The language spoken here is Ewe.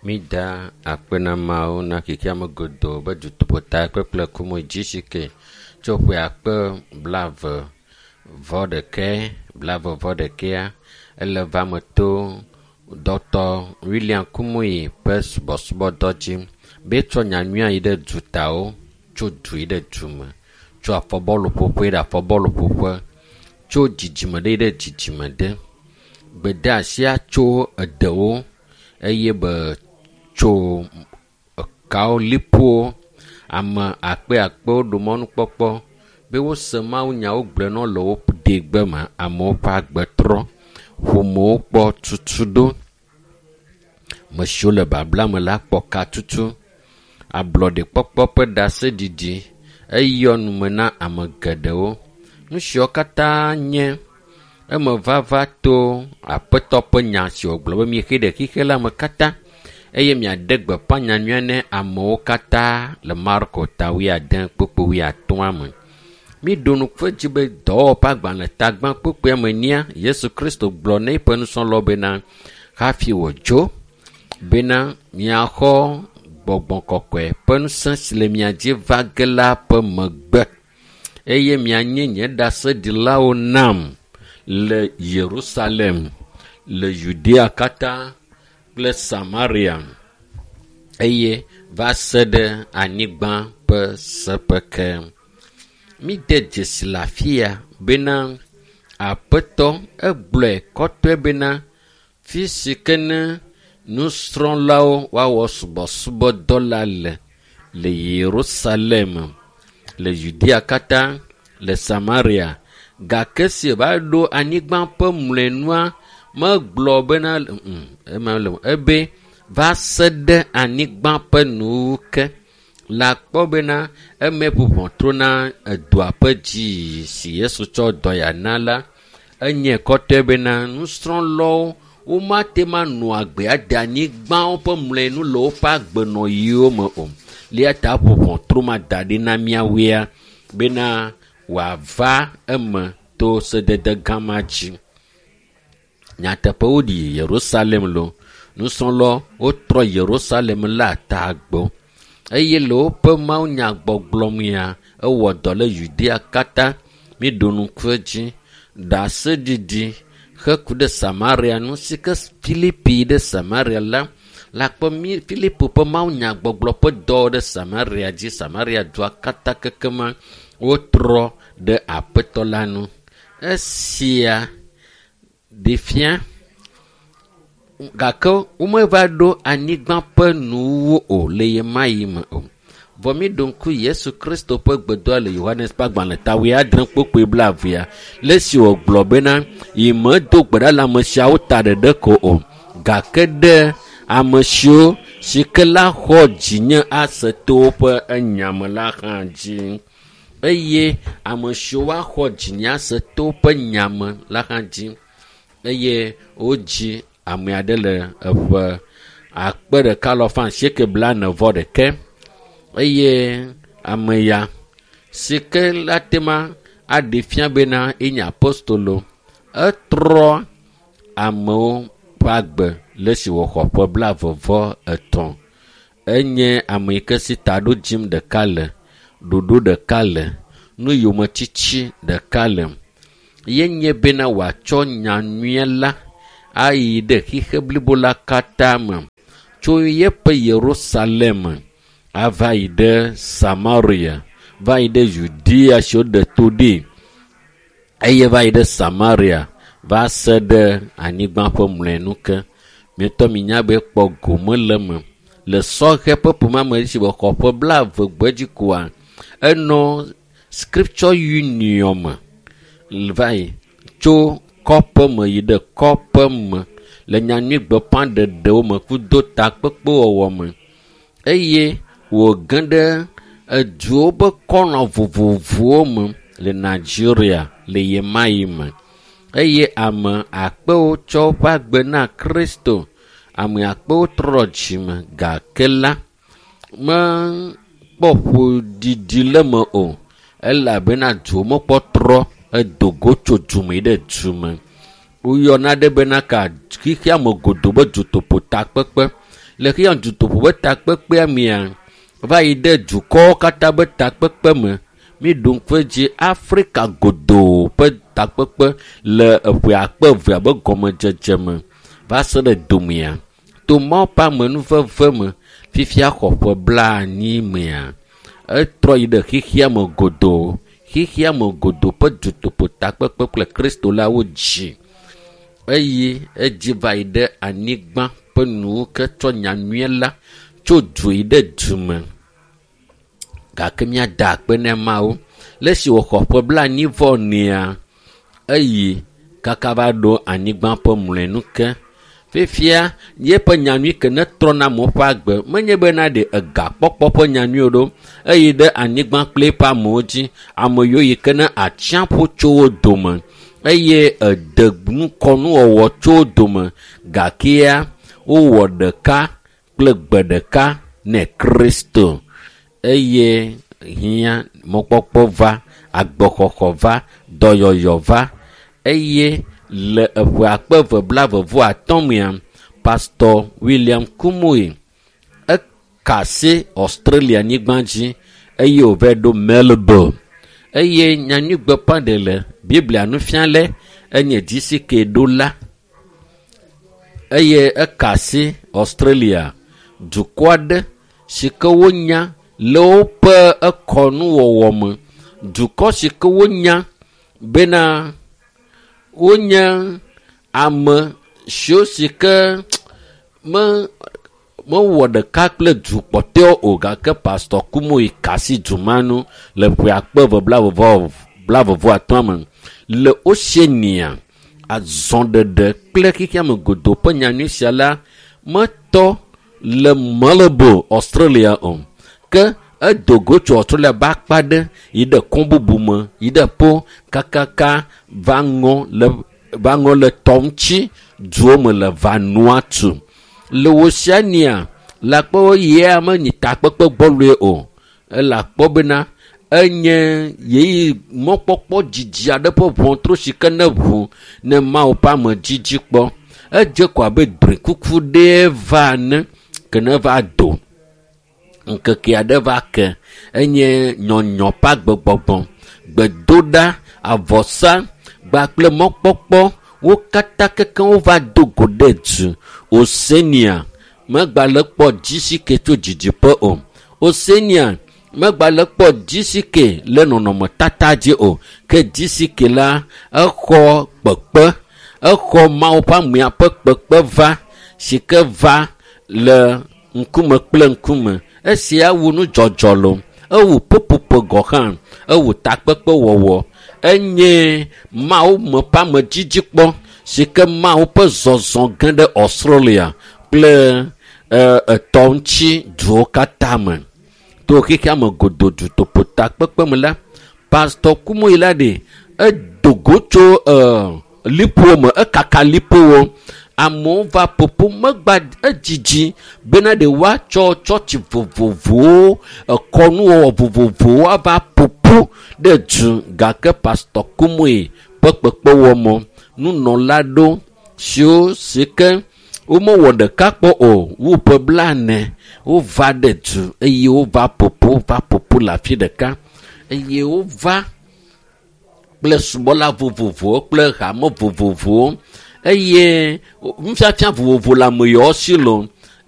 Mida akpe na Mawu na xexeame godoo be dutoƒo kpekple kumo GCK tso ƒe akpe 20 vɔ ɖekɛ 20 vɔ ɖekɛa ele va me to Dr. William Kumuyi ƒe subɔsubɔdɔ dzi be etsɔ nyanyuia yi ɖe dutawo tso du yi ɖe du me, tso afɔbɔluƒoƒe yi ɖe afɔbɔluƒoƒe, tso dzidzime ɖe yi ɖe dzidzime ɖe. Gbedeasia tso edewo eye be tso ekawo liƒowo ame akpe akpewo ɖo mɔnukpɔkpɔ be wose mawunya wogblɔe na wo le wo degbe me amewo ƒe agbe trɔ. Ƒomewo kpɔ tutuɖo. Ame siwo le babla me la kpɔ katutu. Ablɔɖekpɔkpɔ ƒe ɖaseɖiɖi eyɔ nume na ame geɖewo. Nu siawo katã nye emevava to aƒetɔ ƒe nya si wògblɔ be mixe ɖe xixe la me katã eye miaɖe gbeƒã nyanyuia ne amewo katã le Marko ta wuiade kpukpui wuiatɔ̃a me. Míɖo ŋku edzi be dɔwɔwɔ ƒe agbalẽ tagbã kpukpuia me nia Yesu Kristo gblɔ na eƒe nusrɔ̃lawo bena hafi wòdzo bena miaxɔ gbɔgbɔ kɔkɔe ƒe ŋusẽ si le mia dzi va ge la ƒe megbe eye mianye nye ɖaseɖilawo nam le Yerusalem, le Yudea katã kple Samaria eye va se ɖe anyigba ƒe seƒe ke. Míde dzesi le afi ya bena aƒetɔ egblɔe kɔtɔe bena fi si ke ne nusrɔ̃lawo woawɔ subɔsubɔdɔ la le le Yerusalem, le Yudea katã, le Samaria gake si va ɖo anyigba ƒe mlɔenua megblɔ bena ema le ebe va se ɖe anyigba ƒe nuwuwu ke. Le akpɔ bena eme ƒo ʋɔtru na edoa ƒe dzi si Yesu tsɔ dɔ ya na la enye kɔtɔe bena nusrɔ̃lawo womate ma nɔ agbe ade anyigbawo ƒe mlɔenu le woƒe agbenɔɣiwo me o. Eya ta ƒo ʋɔtru ma da ɖi na míawoea bena wòava eme to sedede gã ma dzi. Nyateƒe woɖi Yerusalem lo. Nusrɔ̃lawo wotrɔ Yerusalem la ta gbɔ eye le woƒe mawunyagbɔgblɔ mea ewɔ dɔ le Yudea katã. Míɖo ŋku edzi ɖaseɖiɖi heku ɖe Samaria ŋu si ke Filipi ɖe Samaria la le akpɔ mí Filipo ƒe mawunyagbɔgblɔ ƒe dɔ ɖe Samaria dzi. Samaria dua katã kekema wotrɔ ɖe aƒetɔ la ŋu. Esia ɖe fia gake womeva ɖo anyigba ƒe nuwuwu o le ɣemaɣi me o. Vɔ míɖo ŋku Yesu Kristo ƒe gbedoa le Yohanes ƒe agbalẽ ta wuiadre kpukpui blaevea le esi wògblɔ bena yi medo gbe ɖa le ame siawo ta ɖeɖe ko o gake ɖe ame siwo si ke la xɔ dzinye ase to woƒe enya me la hã dzi eye ame siwo woaxɔ dzinye ase to woƒe nya me la hã dzi eye wodzi ame aɖe le eƒe 1841 eye ame ya si ke la te ma aɖe fia bena enye apostolo etrɔ amewo ƒe agbe le esi wòxɔ ƒe 23. Enye ame yi ke si taɖodzim ɖeka le, ɖoɖo ɖeka le, nuyometiti ɖeka le. Ye nye bena wòatsɔ nyanyuie la ayi ɖe xixe blibo la katã me tso yeƒe Yerusalem ava yi ɖe Samaria, va yi ɖe Yudea si woɖe to ɖi eye va yi ɖe Samaria va se ɖe anyigba ƒe mlɔenu ke. Mietɔ minya be kpɔ gome le eme le sɔhɛ ƒe ƒomea me esi wòxɔ ƒe 20 gbedzi koa enɔ Scripture Union me va yi tso kɔƒe me yi ɖe kɔƒe me le nyanyui gbeƒãɖeɖewo me kudo takpekpewɔwɔ me eye wòge ɖe eduwo ƒe kɔnɔ vovovowo me le Nigeria le ɣemaɣi me eye ame akpewo tsɔ woƒe agbe na Kristo. Ame akpewo trɔ dzime gake la mekpɔ ƒoɖiɖi le eme o elabena duwo mekpɔ trɔ edo go tso dume yi ɖe dume. Woyɔna ɖe bena ka xexea me godoo be dutoƒo takpekpe. Le xexea dutoƒo ƒe takpekpea mea, va yi ɖe dukɔwo katã be takpekpe me. Míɖo ŋku edzi Afrika godoo ƒe takpekpe le eƒe akpe evea be gɔmedzedze me va se ɖe domea. To Mawu ƒe amenuveve me, fifia xɔ ƒe 90 mea, etrɔ yi ɖe xexea me godoo. Xexea me godoo ƒe dutoƒo takpekpe kple Kristo la wodzi eye edzi va yi ɖe anyigba ƒe nuwo ke tsɔ nyanyuie la tso du yi ɖe du me. Gake míada akpe na Mawu. Le esi wòxɔ ƒe 40 nea, eyi kaka va ɖo anyigba ƒe mlɔenu ke. Fifia yeƒe nyanyui ke ne trɔna amewo ƒe agbe menye bena ɖe egakpɔkpɔ ƒe nyanyui o ɖo eyi ɖe anyigba kple eƒe amewo dzi. Ame yiwo yi ke ne atsiaƒu tso wo dome eye ede nukɔnuwɔwɔ tso wo dome gakea wowɔ ɖeka kple gbe ɖeka ne Kristo eye hiã mɔkpɔkpɔ va, agbexɔxɔ va, dɔyɔyɔ va eye le eƒe akpe eve blaeve-vɔ-atɔ̃ mea, Pastor William Kumuyi eka asi Australia nyigba dzi eye wòvae ɖo Melbourne eye nyanyuigbeƒãɖele Biblia nufiala enye GCK ɖola eye eka asi Australia dukɔ aɖe si ke wonya le woƒe ekɔnuwɔwɔ me. Dukɔ si ke wonya bena wonye ame siwo si ke me mewɔ ɖeka kple du kpɔtɔewo o gake Pastor Kumuyi ka asi du ma nu le ƒe akpe eve blaeve-vɔ-atɔ̃ me le Oceania azɔɖeɖe kple xexea me godoo ƒe nyanyui sia la metɔ le Melbourne, Australia o. Ke edo go tso Australia be akpa ɖe yi ɖe kɔn bubu me yi ɖe po kakaka va ŋɔ le va ŋɔ le tɔ ŋuti duwo me le Vanuatu. Le Oceania le akpɔ yia menyi takpekpe gbɔloe o. Ele akpɔ bena enye yeyi mɔkpɔkpɔ dzidzi aɖe ƒe ʋɔtru si ke ne ʋu ne Mawu ƒe ame dzidzi kpɔ. Edze ko abe drɔ̃ekuku ɖee va ene ke ne va do. Ŋkeke aɖe va ke enye nyɔnyɔ ƒe agbegbɔgbɔ, gbedoɖa, avɔsa kpakple mɔkpɔkpɔ wo katã kekeŋ wova do go ɖe du. Oceania megbale kpɔ GCK tso didiƒe o. Oceania megbale kpɔ GCK le nɔnɔmetata dzi o. Ke GCK la exɔ kpekpe, exɔ Mawu ƒe amea ƒe kpekpe va si ke va le ŋkume kple ŋkume. Esia wu nudzɔdzɔ lo, ewu ƒuƒoƒo gɔ hã, ewu takpekpe wɔwɔ. Enye Mawu me ƒe amedzidzi kpɔ si ke Mawu ƒe zɔzɔ ge ɖe Australia kple etɔ ŋuti duwo katã me. To xexea me godoo dutoƒo takpekpe me la, Pastor Kumuyi la ɖe edo go tso liƒowo me, ekaka liƒowo. Amewo va ƒoƒo megba edzidzi bena ɖe woatsɔ tsɔtsi vovovowo, ekɔnuwɔwɔ vovovowo ava ƒoƒu ɖe du gake Pastor Kumuyi ƒe kpekpewɔmɔ nunɔla ɖo siwo si ke womewɔ ɖeka kpɔ o wu ƒe 40 wova ɖe du eye wova ƒoƒu va ƒoƒu le afi ɖeka eye wova kple subɔla vovovowo kple hame vovovowo eye nufiafia vovovo le ame yawo si lo.